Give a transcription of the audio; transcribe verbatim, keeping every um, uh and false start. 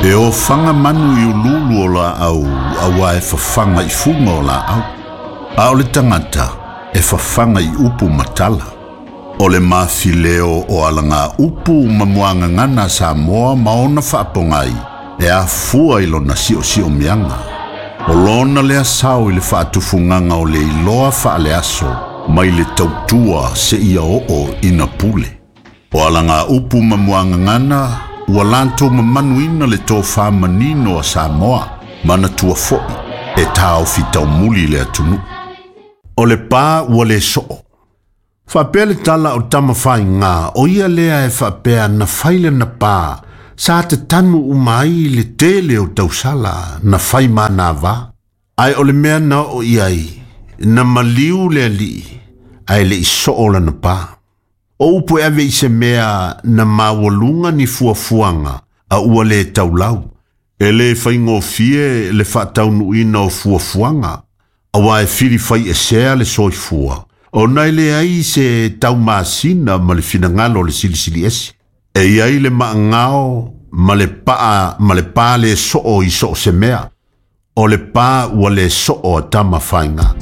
E ofaga manu i ululu o laau auā e fafaga i fuga o laau. A o le tagata e fafaga i upu ma tala. O le mafileo o alaga upu ma muagagana a Samoa ma ona faapogai e afua i lona siosiomiaga. O lona lea sao i le faatufugaga o le iloa faaleaso mai le tautua seia oo ina pule. O alaga upu ma muagagana ua latou mamanuina le tofā manino a Samoa manatua fo'i e taofi taumuli le atunuu. O le pa ua le soo. Faapea le tala o Tamafaigā o ia lea e faapea na fai lana pa sa tatanu uma ai le tele o tausala na fai manava. Ae o le mea na oo i ai, na maliu le alii ae le i soo lana pa. O upu e ave i se mea na maualuga ni fuafuaga a ua lē taulau. E lē faigofie le faataunuuina o fuafuaga, auā e filifai esea le soifua, ona e leai se taumasina ma le finagalo o le Silisili Ese. E i ai le maagao ma le paa ma le pa le soo i soo se mea. O le pa ua le soo a Tamafaigā.